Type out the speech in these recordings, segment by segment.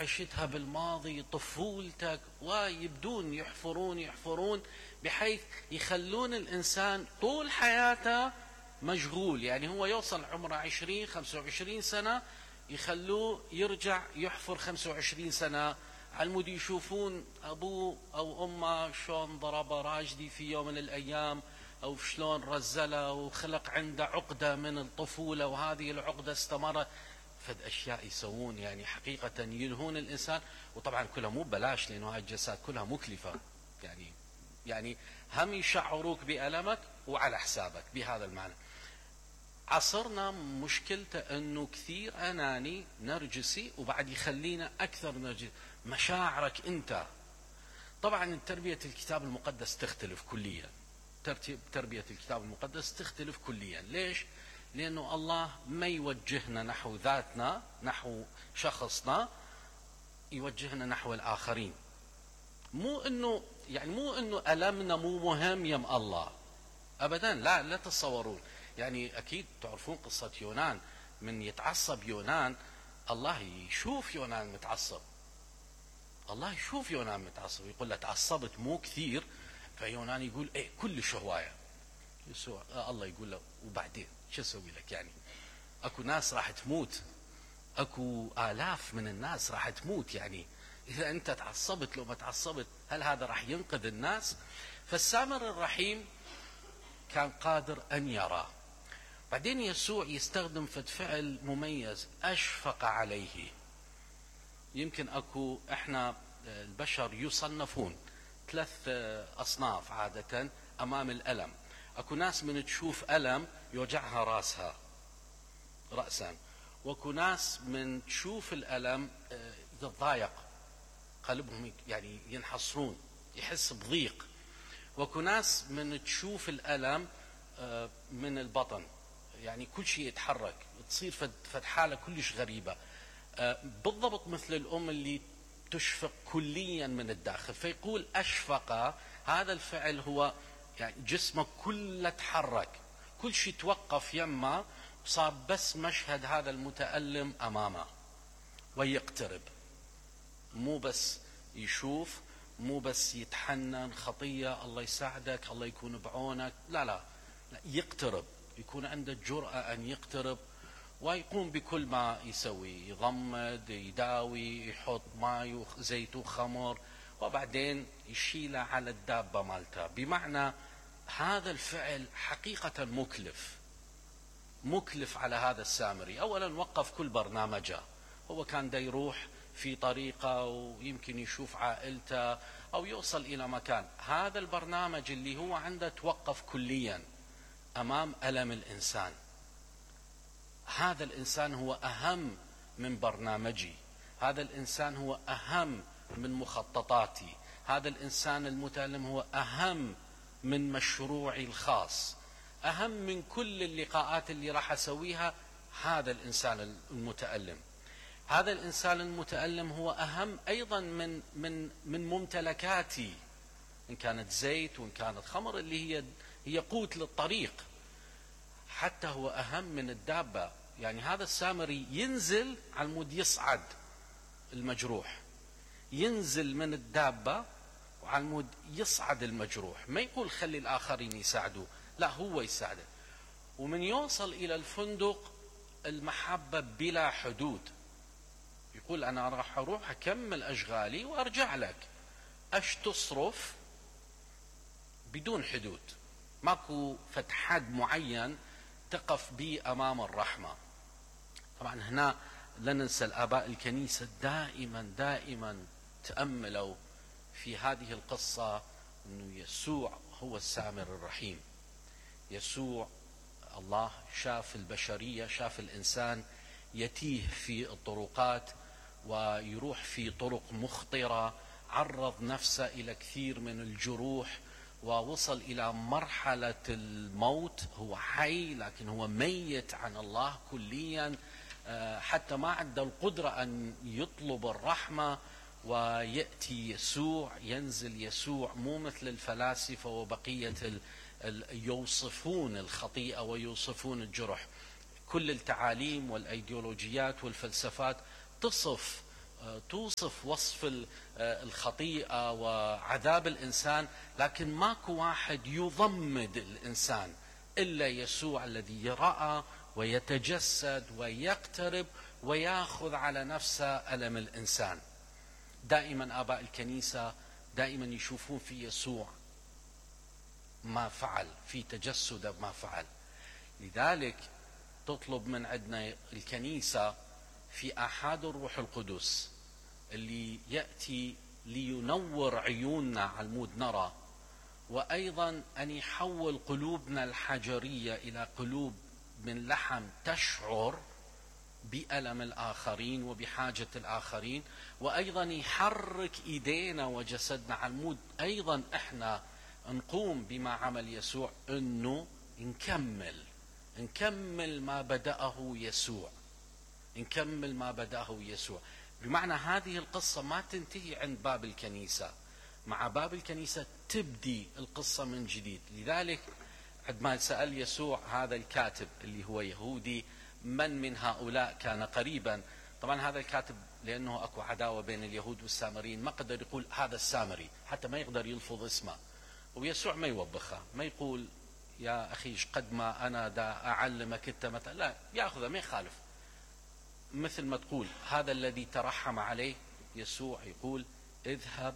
عشتها بالماضي، طفولتك، ويبدون يحفرون بحيث يخلون الإنسان طول حياته مشغول. يعني هو يوصل عمره 20-25 سنة يخلوه يرجع يحفر 25 سنة، علمود يشوفون أبوه أو أمه شلون ضرب راجدي في يوم من الأيام، أو شلون رزله وخلق عنده عقدة من الطفولة، وهذه العقدة استمرت. فد أشياء يسوون يعني حقيقة يلهون الإنسان، وطبعا كلها مو بلاش، لأنه هاي الجلسات كلها مكلفة. يعني هم يشعروك بألمك وعلى حسابك بهذا المعنى. عصرنا مشكلته أنه كثير أناني نرجسي، وبعد يخلينا أكثر نرجسي مشاعرك أنت. طبعا تربية الكتاب المقدس تختلف كليا، تربية الكتاب المقدس تختلف كليا. ليش؟ لأنه الله ما يوجهنا نحو ذاتنا، نحو شخصنا، يوجهنا نحو الآخرين. مو أنه ألمنا مو مهم يم الله أبدا، لا تتصورون. يعني أكيد تعرفون قصة يونان، من يتعصب يونان الله يشوف يونان متعصب، الله يشوف يونان متعصب، يقول له تعصبت مو كثير. فيونان يقول ايه كلش هواية. يسوع الله يقول له وبعدين شو اسوي لك؟ يعني اكو ناس راح تموت، اكو آلاف من الناس راح تموت، يعني اذا انت تعصبت لو ما تعصبت هل هذا راح ينقذ الناس؟ فالسامر الرحيم كان قادر ان يرى. بعدين يسوع يستخدم فعل مميز، اشفق عليه. يمكن اكو احنا البشر يصنفون 3 أصناف عادة امام الالم. اكو ناس من تشوف ألم يوجعها رأسا، واكو ناس من تشوف الألم يتضايق قلبهم، يعني ينحصرون، يحس بضيق. واكو ناس من تشوف الألم من البطن، يعني كل شيء يتحرك، تصير فد حالة كلش غريبة، بالضبط مثل الأم اللي تشفق كليا من الداخل. فيقول أشفق، هذا الفعل هو يعني جسمك كله تحرك، كل شيء توقف يمه، صار بس مشهد هذا المتألم أمامه ويقترب. مو بس يشوف، مو بس يتحنن خطية الله يساعدك الله يكون بعونك، لا يقترب، يكون عنده الجرأة أن يقترب ويقوم بكل ما يسوي، يضمد، يداوي، يحط ماء وزيت وخمر، وبعدين يشيله على الدابة مالته. بمعنى هذا الفعل حقيقة مكلف على هذا السامري. أولا وقف كل برنامجه، هو كان دا يروح في طريقة ويمكن يشوف عائلته أو يوصل إلى مكان. هذا البرنامج اللي هو عنده توقف كليا أمام ألم الإنسان. هذا الإنسان هو أهم من برنامجي، هذا الإنسان هو أهم من مخططاتي، هذا الإنسان المتألم هو أهم من مشروعي الخاص، أهم من كل اللقاءات اللي راح أسويها. هذا الإنسان المتألم، هذا الإنسان المتألم هو أهم أيضا من ممتلكاتي، إن كانت زيت وإن كانت خمر اللي هي قوت للطريق. حتى هو أهم من الدابة. يعني هذا السامري ينزل على المود يصعد المجروح، ينزل من الدابة وعلى المود يصعد المجروح، ما يقول خلي الآخرين يساعدوا، لا هو يساعده. ومن يوصل إلى الفندق المحبة بلا حدود، يقول أنا راح أروح أكمل أشغالي وأرجع لك، أش تصرف بدون حدود، ماكو فتحد معين تقف به أمام الرحمة. طبعا هنا لا ننسى الآباء الكنيسة دائما تأملوا في هذه القصة أنه يسوع هو السامر الرحيم. يسوع الله شاف البشرية، شاف الإنسان يتيه في الطرقات ويروح في طرق مخطرة، عرض نفسه إلى كثير من الجروح ووصل إلى مرحلة الموت. هو حي لكن هو ميت عن الله كليا، حتى ما عنده القدرة أن يطلب الرحمة. ويأتي يسوع، ينزل يسوع، مو مثل الفلاسفة وبقية يوصفون الخطيئة ويوصفون الجرح. كل التعاليم والأيديولوجيات والفلسفات تصف توصف وصف الخطيئة وعذاب الإنسان، لكن ماكو واحد يضمد الإنسان إلا يسوع الذي رأى ويتجسد ويقترب ويأخذ على نفسه ألم الإنسان. دائما آباء الكنيسة دائما يشوفون في يسوع ما فعل، في تجسد ما فعل. لذلك تطلب من عندنا الكنيسة في آحاد الروح القدس اللي يأتي لينور عيوننا على المود نرى، وأيضا أن يحول قلوبنا الحجرية إلى قلوب من لحم تشعر بألم الآخرين وبحاجة الآخرين، وأيضا يحرك إيدينا وجسدنا على المود أيضا إحنا نقوم بما عمل يسوع، أنه نكمل ما بدأه يسوع، نكمل ما بدأه يسوع. بمعنى هذه القصة ما تنتهي عند باب الكنيسة، مع باب الكنيسة تبدي القصة من جديد. لذلك عندما سأل يسوع هذا الكاتب اللي هو يهودي من هؤلاء كان قريبا، طبعا هذا الكاتب لأنه أكو عداوة بين اليهود والسامريين ما قدر يقول هذا السامري، حتى ما يقدر يلفظ اسمه، ويسوع ما يوبخه، ما يقول يا أخي قد ما أنا دا أعلمك أنت مثلا، لا، يأخذه ما يخالف. مثل ما تقول هذا الذي ترحم عليه، يسوع يقول اذهب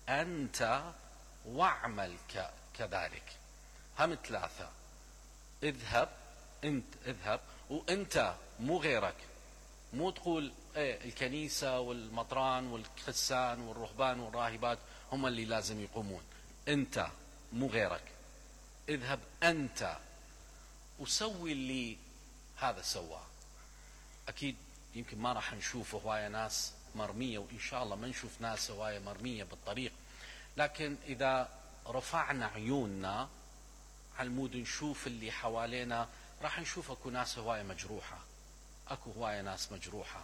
أنت واعمل كذلك. هم ثلاثة، اذهب وأنت، مو غيرك. مو تقول الكنيسة والمطران والخسان والرهبان والراهبات هم اللي لازم يقومون، أنت مو غيرك. اذهب أنت وسوي اللي هذا سواه. أكيد يمكن ما راح نشوف هواية ناس مرمية، وإن شاء الله ما نشوف ناس هواية مرمية بالطريق، لكن إذا رفعنا عيوننا على المود نشوف اللي حوالينا، راح نشوف أكو ناس هواية مجروحة، أكو هواية ناس مجروحة.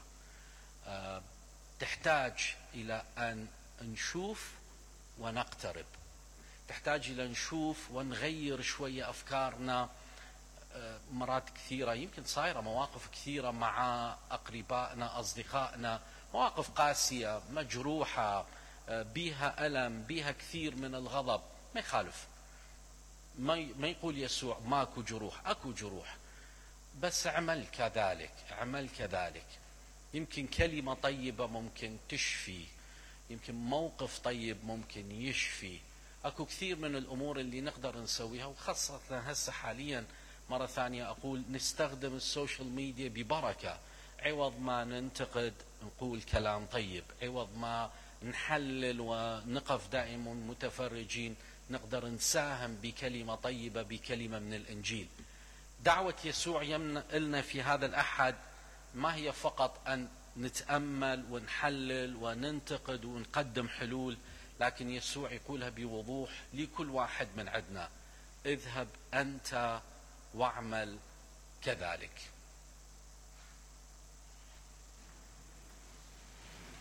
تحتاج إلى أن نشوف ونقترب، تحتاج إلى نشوف ونغير شوية أفكارنا. مرات كثيرة يمكن صايرة مواقف كثيرة مع أقربائنا أصدقائنا، مواقف قاسية مجروحة بيها ألم، بيها كثير من الغضب، ما يخالف. ما يقول يسوع ماكو جروح، أكو جروح، بس اعمل كذلك. يمكن كلمة طيبة ممكن تشفي، يمكن موقف طيب ممكن يشفي. أكو كثير من الأمور اللي نقدر نسويها، وخاصة هسه حاليا مرة ثانية أقول نستخدم السوشيال ميديا ببركة. عوض ما ننتقد نقول كلام طيب، عوض ما نحلل ونقف دائما متفرجين نقدر نساهم بكلمة طيبة، بكلمة من الإنجيل. دعوة يسوع لنا في هذا الأحد ما هي فقط أن نتأمل ونحلل وننتقد ونقدم حلول، لكن يسوع يقولها بوضوح لكل واحد من عندنا: اذهب أنت واعمل كذلك.